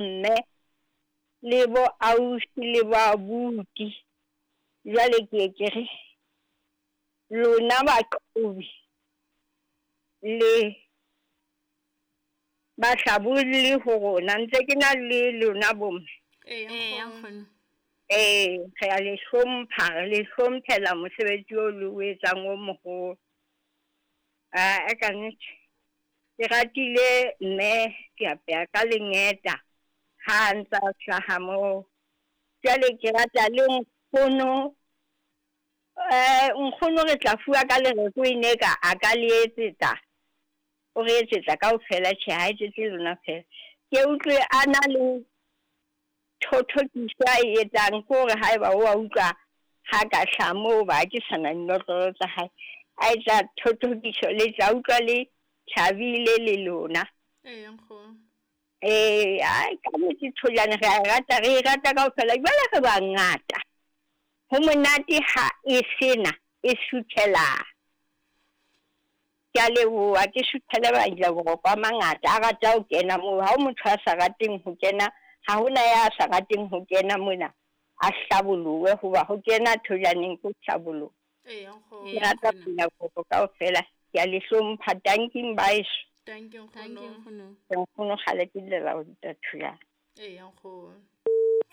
Mme le bo ausi le bo abuti. Jwale ke ye ke re lona baqhobi le bahlabolli ho rona, ntse ke na le lona bomme. Eya, nkgono. Ee, re a le hlompha, re le hlomphela mosebetsi o le o etsang o moholo. A ka nnete ke ratile mme ke apeha ka lengeta ha ntsa hlaha moo. Jwale ke rata le nkgono, nkgono re tla fuwa ka lereko e ne ka a ka le etsetsa, o re etsetsa kaofela. Tjhe, ha etsetse lona fela. Ke utlwe a na le thothokiso a e etsang ke hore haeba wa utlwa ha ka hlaha moo ba ke sana dinotlolo tsa hae, a etsa thothokiso le tla utlwa le thabile le lona. Eya, nkgono. Ee, ai ka nnete Thojane re a e rata, re e rata kaofela. Jwale re bangata, ho monate ha e sena e suthela. Ke a leboha, ke suthele ba boroko a mangata a rata ho kena moo. Ha o motho a sa rateng ho kena, ha hona ya sa rateng ho kena mona a hlabolohe, hoba ho kena Thojaneng ke ho hlaboloha. Eya, nkgono. Ke rata pina boroko kaofela. Ke a le hlompha. Tanking baeso. Thank you, Thank you, nkgono. Nkgono. Nkgono kgale ke llela ho ruta Thojane. Eya, nkgono.